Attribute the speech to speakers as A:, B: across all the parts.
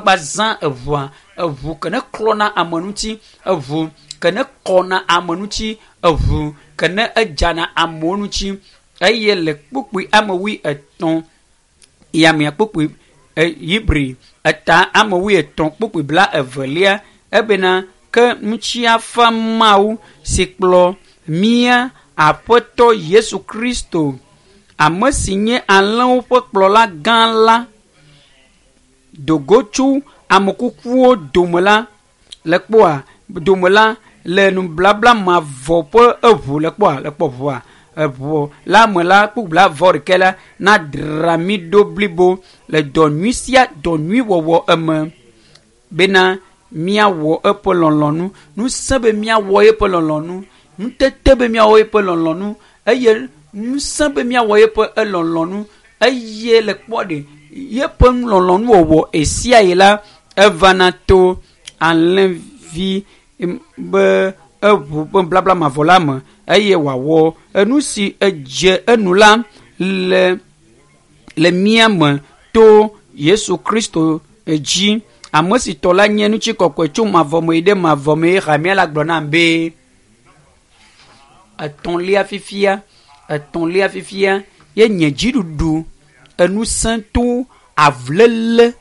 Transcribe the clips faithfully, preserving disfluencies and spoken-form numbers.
A: Woagba zã eʋua, eʋu ke ne klɔna ame ŋuti, eʋu ke ne kɔna ame ŋuti, eʋu ke ne edzana amewo ŋuti. Eye le kpukpui ame wui etɔ̃ yamea kpukpui Hebri eta ame wui etɔ̃ kpukpui bla evelia ebena ke ŋutiafa Mawu si kplɔ mía Aƒetɔ Yesu Kristo, ame si nye alẽwo ƒe kplɔla gã la, dogo tso ame kukuwo dome la le kpɔa dome la le nublabla mavɔ ƒe eʋu le kpɔa le kpɔ ʋua eʋu la me la kpukpui bla vɔ ɖekɛ la nadra mí ɖo blibo le dɔ nyui sia dɔ nyui wɔwɔ eme bena míawɔ eƒe lɔlɔ̃nu. Ŋusẽ be míawɔ eƒe lɔlɔ̃nu, ŋutete be míawɔ eƒe lɔlɔ̃nu eye ŋusẽ be míawɔ eƒe elɔlɔ̃nu eye le kpɔ ɖe yeƒe lɔlɔ̃nu wɔwɔ esia yi la evana to alẽvi be eʋu ƒe blabla mavɔ la me eye wòawɔ enu si edze enu la le le mía me to Yesu Kristo dzi. Ame si tɔ la nye ŋutikɔkɔe tso mavɔ me yi ɖe mavɔ me. Hamea la gblɔ nam be etɔ̃lia fifia, etɔ̃lia fifia ye nye dziɖuɖu enusẽ to avulele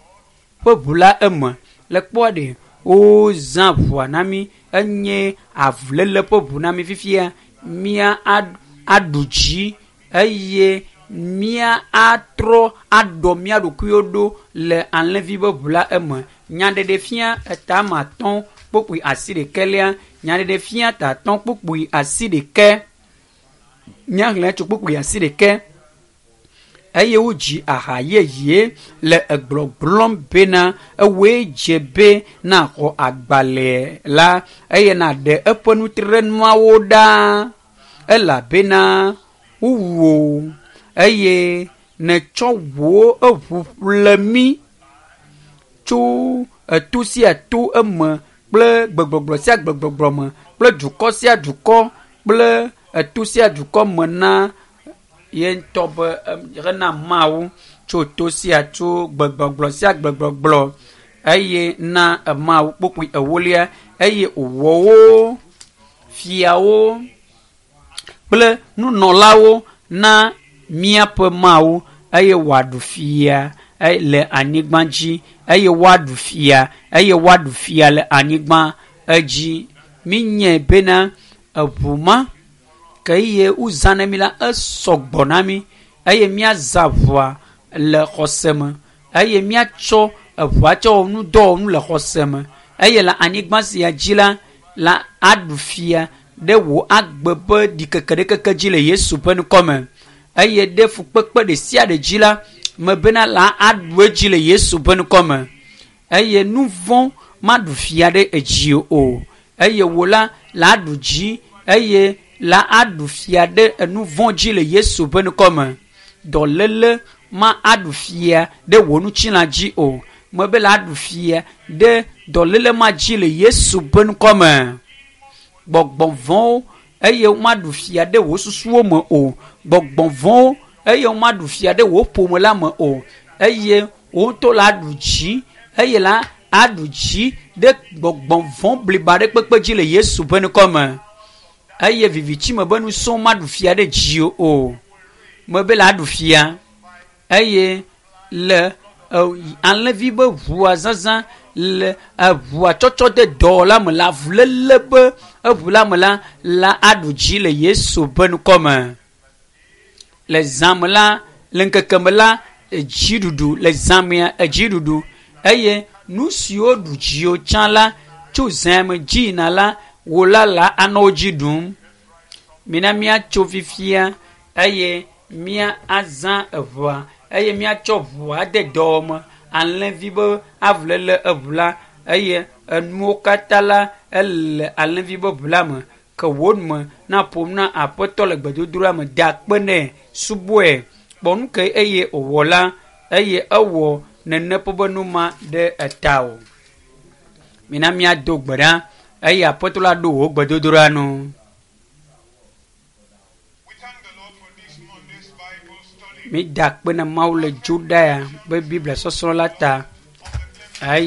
A: ƒe ʋu la eme. Le kpɔa ɖe wozã ʋua na mí enye avulele ƒe ʋu na mí fifia. Mía aɖu dzi eye mía atrɔ aɖɔ mía ɖokuiwo ɖo le alẽvi ƒe ʋu la eme. Nyaɖeɖefia eta ame atɔ̃ kpukpui asi ɖekɛlia. Nyaɖeɖefia ta atɔ̃ kpukpui asi ɖekɛ. Míaxlẽ tso kpukpui asi ɖekɛ. Eye wodzi aha yeye le egblɔgblɔm bena ewoe dze be naxɔ agbalẽ la eye naɖe eƒe nutrenuawo ɖa elabena wowu wò eye nètsɔ wò eʋu ƒle mí tso eto sia to eme kple gbegbɔgblɔ sia gbegbɔgblɔ me kple dukɔ sia dukɔ kple eto sia dukɔ me na ye ŋutɔ be hena Mawu tso to sia tso gbegbɔgblɔ sia gbegbɔgblɔ eye na Mawu kpukpui ewolia eye wòwɔ wo fiawo kple nunɔlawo na míaƒe Mawu eye wòaɖu fia le anyigba dzi eye woaɖu fia eye woaɖu fia le anyigba edzi. Míenyae bena eʋu ma ke eye wozã na mí la esɔgbɔ na mí eye míazã ʋua le xɔse me eye míatsɔ eʋua tsɔ wɔ nudɔwɔnu le xɔse me eye le anyigba sia dzi la la aɖu fia ɖe wò agbe ƒe ɖikeke ɖekeke dzi le Yesu ƒe ŋkɔme eye ɖe fukpekpe ɖe sia ɖe dzi la me bena la aɖu edzi le Yesu ƒe ŋkɔme eye nu vɔ̃ maɖu fia ɖe edzi o eye wò la la aɖu dzi eye la aɖu fia ɖe enu vɔ̃ dzi le Yesu ƒe ŋkɔme. Dɔléle ma aɖu fia ɖe wò ŋutilã dzi o. Mebe la aɖu fia ɖe dɔléle ma dzi le Yesu ƒe ŋkɔme. Gbɔgbɔ vɔ̃wo eye womaɖu fia ɖe wò susuwo me o. Gbɔgbɔ vɔ̃wo eye womaɖu fia ɖe wò ƒome la me o. Eye wò ŋutɔ la aɖu dzi eye la aɖu dzi ɖe gbɔgbɔ vɔ̃ bliba ɖe kpekpe dzi le Yesu ƒe ŋkɔme. Eye vivitime be ŋusẽwo maɖu fia ɖe dziwò o. Mebe la aɖu fia eye le alẽvi be ʋua zazã le eʋua tsɔtsɔ de dɔwɔla me le avuléle be eʋu la me la la aɖu dzi le Yesu ƒe ŋkɔme. Le zã me la le ŋkeke me la edziɖuɖu le zã mea edziɖuɖu eye nu siwo ɖu dziwò tsã la tso zã me dzi yina la wò la la anɔ wo dzi ɖum. Mina míatso fifia eye mía azã eʋua eye míatsɔ ʋua de dɔwɔme alẽvi be avuléle eʋu la eye enuwo katã la ele alẽvi be ʋu la me ke wò nume naƒom na Aƒetɔ le gbedodoɖa me da akpe nɛ subɔe kpɔ nu ke eye wòwɔ la eye ewɔ nene ƒe be nu ma ɖe eta o. Mina míado gbe ɖa eye Aƒetɔ la ɖo wò gbedodoɖa nu.
B: We thank the Lord for this Monday's Bible study.
A: Mída akpe na Mawu le dzoɖa ya be Biblia sɔsrɔ̃ la ta.